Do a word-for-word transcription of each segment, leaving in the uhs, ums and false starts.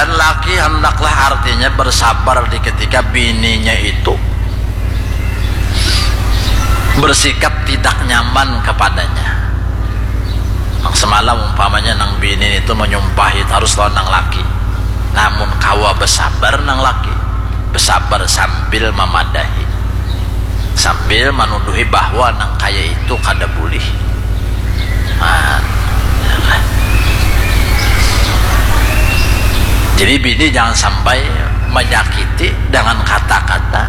Dan laki hendaklah artinya bersabar di ketika bininya itu bersikap tidak nyaman kepadanya. Nang semalam umpamanya nang bini itu menyumpahi tarus lawan nang laki. Namun kawa besabar nang laki, besabar sambil memadahi, sambil menuduhi bahwa nang kaya itu kada bulih. Nah, ya kan? Jadi bini jangan sampai menyakiti dengan kata-kata,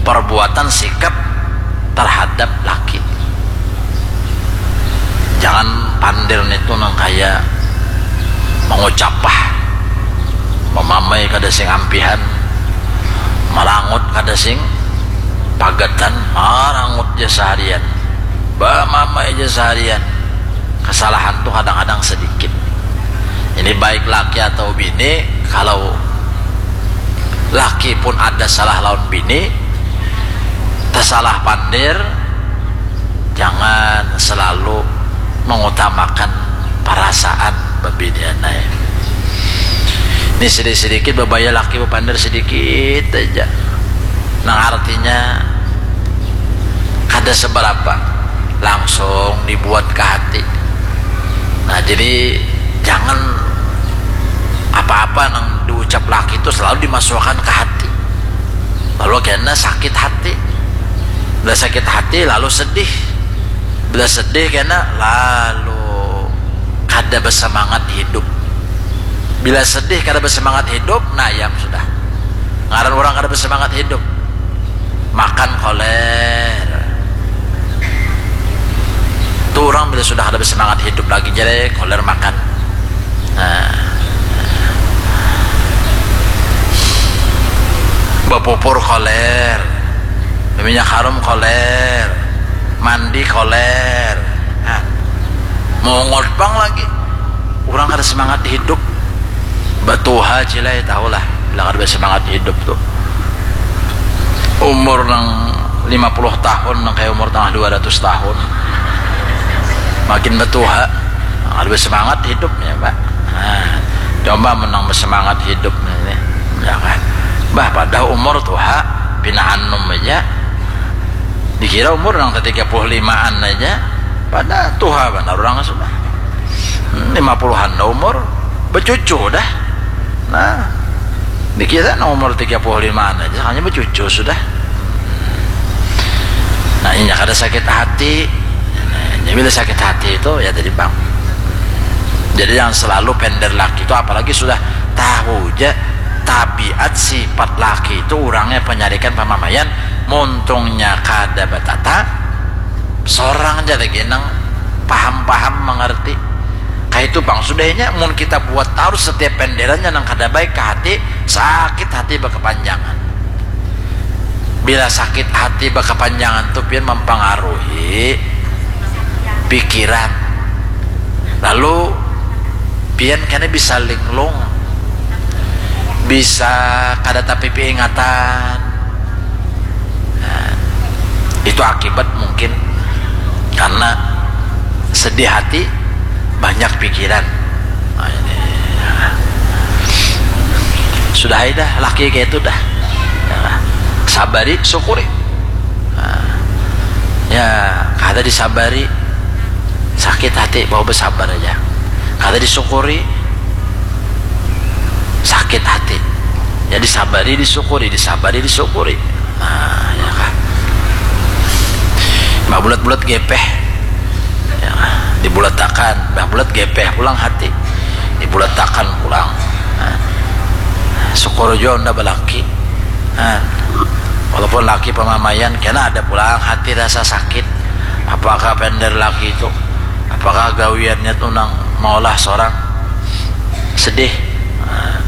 perbuatan, sikap terhadap laki. Jangan pandir nitu nang kaya mengucapah, memamai kada sing ampihan, merangut kada sing pagatan, marangut ja seharian, bamamai ja seharian. Kesalahan tuh kadang-kadang sedikit. Ini baik laki atau bini, kalau laki pun ada salah lawan bini, tersalah pandir, jangan selalu mengutamakan perasaan bebinian ai. Ini sedikit-sedikit bebaya laki bepandir sedikit aja. Nang artinya kada seberapa, langsung dibuat ke hati. Nah, jadi jangan apa-apa nang diucap laki itu selalu dimasukkan ke hati. Lalu kena sakit hati. Bila sakit hati lalu sedih. Bila sedih kena lalu kada bersemangat hidup. Bila sedih kada bersemangat hidup, nah, ayam sudah. Ngaran orang kada bersemangat hidup. Makan koler. Tuh orang bila sudah kada bersemangat hidup lagi, jadi koler makan. Nah. Bapupur koler. Minyak harum koler. Mandi koler. Nah. Mongol pang lagi. Orang kada semangat hidup. Batuha cilai tahulah. Bila kada semangat hidup tuh. Umur nang lima puluh tahun nang kayak umur tangah dua ratus tahun. Makin batuha. Kada semangat hidupnya, Pak. Nah, coba menang bersemangat hidup ini. Ya kan? Bah, pada umur tuha pina anum aja. Dikira umur nang tiga puluh limaan aja. Pada tuha benar orang sudah. Hmm, lima puluhan dah umur, becucu dah. Nah, dikira nang umur tiga puluh limaan aja, hanya becucu sudah. Nah, inya kada sakit hati. Nah, jadi bila sakit hati itu ya tadi, Bang. Jadi yang selalu pender laki itu, apalagi sudah tahu ja tabiat sifat laki itu, orangnya penyarikan pamamaian, muntungnya kada batata, sorang ja lagi nang paham-paham mengerti. Kayak itu, Bang, sudahnya mun kita buat tarus setiap penderannya nang kada baik ke hati, sakit hati berkepanjangan. Bila sakit hati berkepanjangan tuh pian mempengaruhi pikiran. Lalu pian kena bisa linglung, bisa kada tapi ingatan. Nah, itu akibat mungkin karena sedih hati, banyak pikiran. Nah, ini. Sudah aja dah, laki kayak itu dah. Ya, sabari, syukuri. Nah, ya, kada disabari, sakit hati, mau bersabar aja. Kada disyukuri, sakit hati. Ya, disabari, disyukuri, disabari, disyukuri. Nah, ya kan. Bah bulat-bulat gepeh. Ya, dibulatakan, bah bulat gepeh pulang hati. Dibulatakan pulang. Nah, syukur jua unda balaki. Nah, walaupun laki pamamaian, kena ada pulang hati rasa sakit. Apakah pender laki itu? Apakah gawiannya tuh nang maulah seorang sedih? Nah,